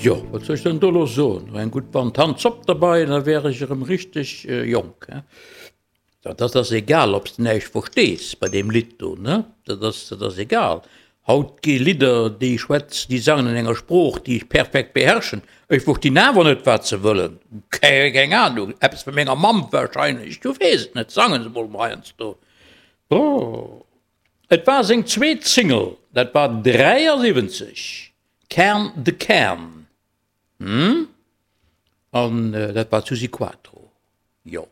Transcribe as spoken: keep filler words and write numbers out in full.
Jo, wat soll ech dann do elo soen? Eng gutt Band Tanzzopp derbei, da wär ech erëm richteg jonk, he? Dat ass egal, ob s de näischt verstees bei deem Lidd do, ne? Dat ass, dat ass egal. Haut gi Lidder, déi schwätzen, déi sangen an enger Sprooch, déi ech perfekt beherrschen. Ech verstinn awer net, wat se wëllen. Keng Ahnung, eppes vu menger Mamm warscheinlech, du weess et net. Sange se mol heiansdo. Oh. Et war seng zweet Single, dat war dräiasiwwenzeg, Kern de Kern. Hm? An dat war d'Suzi Quatro. Jo.